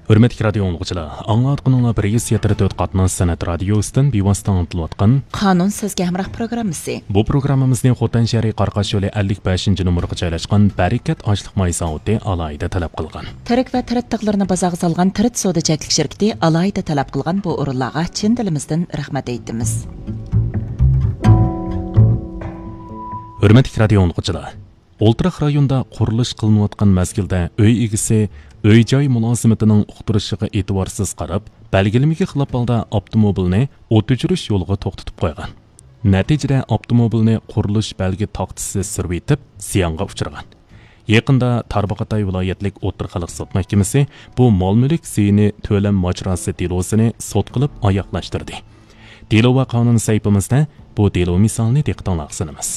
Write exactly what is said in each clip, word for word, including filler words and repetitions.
ھۆرمەتلىك رادىيو ئاڭلىغۇچىلار، ئاڭلاۋاتقىنىڭلار بىر يۈز يەتتە تۆت قاتناش سەنئەت رادىيوسىدىن بىۋاسىتە ئاڭلىتىلىۋاتقان قانۇن سۆزگە ھەمراھ پروگراممىسى. بۇ پروگراممىمىزنى خوتەن شەھىرى قاراقاش يولى ئەللىك بەشىنچى نومۇرغا جايلاشقان بەرىكەت ئاشلىق ماي زاۋۇتى ئالاھىدە تەلەپ قىلغان. تىرىك ۋە تىرىت تىغلىرىنى بازارغا سالغان تىرىت سودا چەكلىك شىركىتى ئالاھىدە تەلەپ قىلغان بۇ ئورۇنلارغا چىن دىلىمىزدىن رەھمەت ئېيتىمىز. ھۆرمەتلىك رادىيو ئاڭلىغۇچىلار، ئولتۇراق رايوندا قۇرۇلۇش قىلىنىۋاتقان مەزگىلدە ئۆي ئىگىسى ئۆي-جاي مۇلازىمىتىنىڭ ئۇقتۇرۇشىغا ئېتىبارسىز قاراپ، بەلگىلىمىگە خىلاپ ھالدا ئاپتوموبىلنى ئوت ئۆچۈرۈش يولىغا توختىتىپ قويغان. نەتىجىدە ئاپتوموبىلنى قۇرۇلۇش بەلگە تاختىسى سۈرۈۋېتىپ، زىيانغا ئۇچرىغان. يېقىندا تارباغاتاي ۋىلايەتلىك ئوتتۇرا خەلق سوت مەھكىمىسى بۇ مال-مۈلۈك زىيىنى تۆلەم ماجىراسى دېلوسىنى سوت قىلىپ ئاياغلاشتۇردى. دېلو ۋە قانۇن سەھىپىمىزدە بۇ دېلو مىسالىنى دىققىتىڭلارغا سۇنىمىز.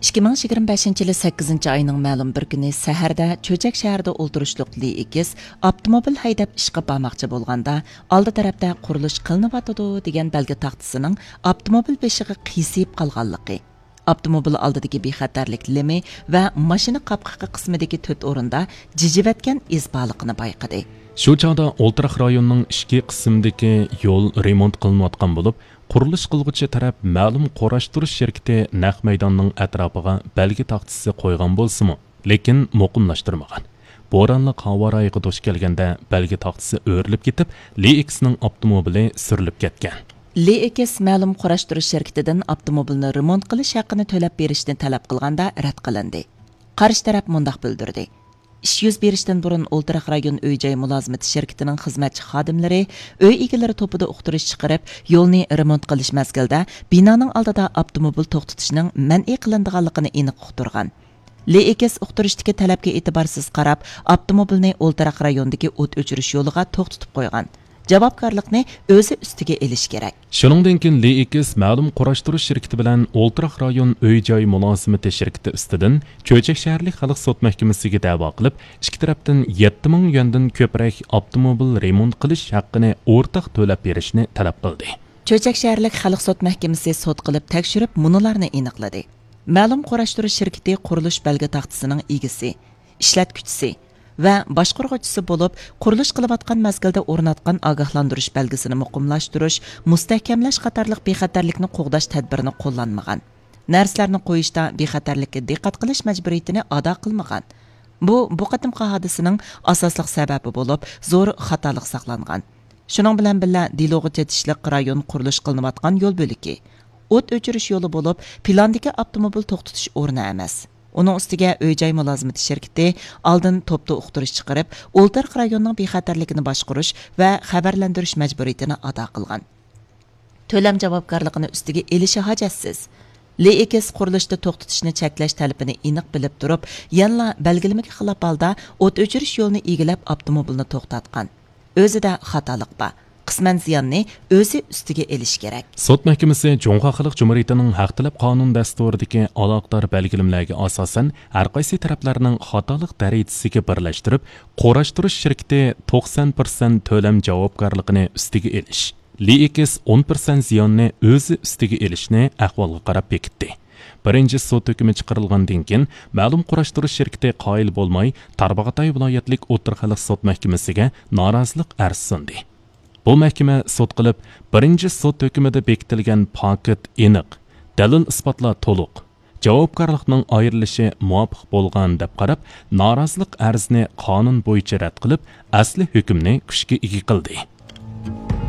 ئىككى مىڭ يىگىرمە بەشىنچى يىلى سەككىزىنچى ئاينىڭ مەلۇم بىر كۈنى سەھەردە چۆچەك شەھىرىدە ئولتۇرۇشلۇق لى ئېكىس ئاپتوموبىل ھەيدەپ ئىشقا بارماقچى بولغاندا، ئالدى تەرەپتە قۇرۇلۇش قىلىنىۋاتىدۇ دېگەن بەلگە تاختىسىنىڭ ئاپتوموبىل بېشىغا قىيسىيىپ قالغانلىقى، ئاپتوموبىل ئالدىدىكى بىخەتەرلىك لىمى ۋە ماشىنا قاپقىقى قىسمىدىكى تۆت ئورۇندا جىجىۋەتكەن ئىز بارلىقىنى بايقىدى. شۇ چاغدا ئولتۇراق رايوننىڭ ئىچكى قىسمىدىكى يول رېمونت قىلىنىۋاتقان بولۇپ، قۇرۇلۇش قىلغۇچى تەرەپ مەلۇم قۇراشتۇرۇش شىركىتى نەق مەيداننىڭ ئەتراپىغا بەلگە تاختىسى قويغان بولسىمۇ، لېكىن مۇقىملاشتۇرمىغان. بورانلىق ھاۋا رايىغا دۇچ كەلگەندە، بەلگە تاختىسى ئۆرۈلۈپ كېتىپ، لى ئېكىسنىڭ ئاپتوموبىلى سۈرۈلۈپ كەتكەن. لى ئېكىس مەلۇم قۇراشتۇرۇش شىركىتىدىن ئاپتوموبىلنى رېمونت قىلىش ھەققىنى تۆلەپ بېرىشنى تەلەپ قىلغاندا رەت قىلىندى. قارشى تەرەپ مۇنداق بىلدۈردى: ئىش يۈز بېرىشتىن بۇرۇن ئولتۇراق رايون ئۆي-جاي مۇلازىمىتى شىركىتىنىڭ خىزمەتچى خادىملىرى ئۆي ئىگىلىرى توپىدا ئۇقتۇرۇش چىقىرىپ، يولنى رېمونت قىلىش مەزگىلىدە بىنانىڭ ئالدىدا ئاپتوموبىل توختىتىشنىڭ مەنئى قىلىنىدىغانلىقىنى ئېنىق ئۇقتۇرغان. لى ئېكىس ئۇقتۇرۇشتىكى تەلەپكە ئېتىبارسىز قاراپ، ئاپتوموبىلنى ئولتۇراق رايوندىكى ئوت ئۆچۈرۈش يولىغا توختىتىپ قويغان. جاۋابكارلىقنى ئۆزى ئۈستىگە ئېلىشى كېرەك. شۇنىڭدىن كېيىن لى ئېكىس مەلۇم قۇراشتۇرۇش شىركىتى بىلەن ئولتۇراق رايون ئۆي-جاي مۇلازىمىتى شىركىتى ئۈستىدىن چۆچەك شەھەرلىك خەلق سوت مەھكىمىسىگە دەۋا قىلىپ، ئىككى تەرەپتىن يەتتە مىڭ يۈەندىن كۆپرەك ئاپتوموبىل رېمونت قىلىش ھەققىنى ئورتاق تۆلەپ بېرىشنى تەلەپ قىلدى. چۆچەك شەھەرلىك خەلق سوت مەھكىمىسى سوت قىلىپ تەكشۈرۈپ، مۇنۇلارنى ئېنىقلىدى. مەلۇم قۇراشتۇرۇش شىركىتى قۇرۇلۇش بەلگە تاختىسىنىڭ ئىگىسى، ئىشلەتكۈچىسى ۋە باشقۇرغۇچىسى بولۇپ، قۇرۇلۇش قىلىۋاتقان مەزگىلدە ئورناتقان ئاگاھلاندۇرۇش بەلگىسىنى مۇقىملاشتۇرۇش، مۇستەھكەملەش قاتارلىق بىخەتەرلىكنى قوغداش تەدبىرىنى قوللانمىغان. نەرسىلەرنى قويۇشتا بىخەتەرلىككە دىققەت قىلىش مەجبۇرىيىتىنى ئادا قىلمىغان. بۇ، بۇ قېتىمقى ھادىسىنىڭ ئاساسلىق سەۋەبى بولۇپ، زور خاتالىق ساقلانغان. شۇنىڭ بىلەن بىللە، دېلوغا چېتىشلىق رايون قۇرۇلۇش قىلىنىۋاتقان يول بۆلىكى ئوت ئۆچۈرۈش يولى بولۇپ، پىلاندىكى ئاپتوموبىل توختىتىش ئورنى ئەمەس. ئۇنىڭ ئۈستىگە ئۆي-جاي مۇلازىمىتى شىركىتى ئالدىن توپتا ئۇقتۇرۇش چىقىرىپ، ئولتۇراق رايوننىڭ بىخەتەرلىكىنى باشقۇرۇش ۋە خەۋەرلەندۈرۈش مەجبۇرىيىتىنى ئادا قىلغان. تۆلەم جاۋابكارلىقىنى ئۈستىگە ئېلىشى ھاجەتسىز. لى ئېكىس قۇرۇلۇشتا توختىتىشنى چەكلەش تەلىپىنى ئېنىق بىلىپ تۇرۇپ، يەنىلا بەلگىلىمىگە خىلاپ ھالدا ئوت ئۆچۈرۈش يولىنى ئىگىلەپ، ئاپتوموبىلنى توختاتقان. ئۆزىدە خاتالىق بار. قىسمەن زىياننى ئۆزى ئۈستىگە ئېلىشى كېرەك. سوت مەھكىمىسى جۇڭخۇا خەلق جۇمھۇرىيىتىنىڭ ھەق تەلەپ قانۇن دەستۇرىدىكى ئالاقىدار بەلگىلىمىلەرگە ئاساسەن، ھەر قايسى تەرەپلەرنىڭ خاتالىق دەرىجىسىگە بىرلەشتۈرۈپ، قۇراشتۇرۇش شىركىتى توقسان پىرسەنت تۆلەم جاۋابكارلىقىنى ئۈستىگە ئېلىش، لى ئېكىس ئون پىرسەنت زىياننى ئۆزى ئۈستىگە ئېلىشنى ئەھۋالغا قاراپ بېكىتتى. بىرىنچى سوت ھۆكمى چىقىرىلغاندىن كېيىن، مەلۇم قۇراشتۇرۇش شىركىتى قايىل بولماي، تارباغاتاي ۋىلايەتلىك ئوتتۇرا خەلق سوت مەھكىمىسىگە نارازىلىق ئەرزى سۇندى. بۇ مەھكىمە سوت قىلىپ، بىرىنچى سوت ھۆكمىدە بېكىتىلگەن پاكىت ئېنىق، دەلىل-ئىسپاتلار تولۇق، جاۋابكارلىقنىڭ ئايرىلىشى مۇۋاپىق بولغان دەپ قاراپ، نارازىلىق ئەرزىنى قانۇن بويىچە رەت قىلىپ، ئەسلى ھۆكۈمنى كۈچكە ئىگە قىلدى.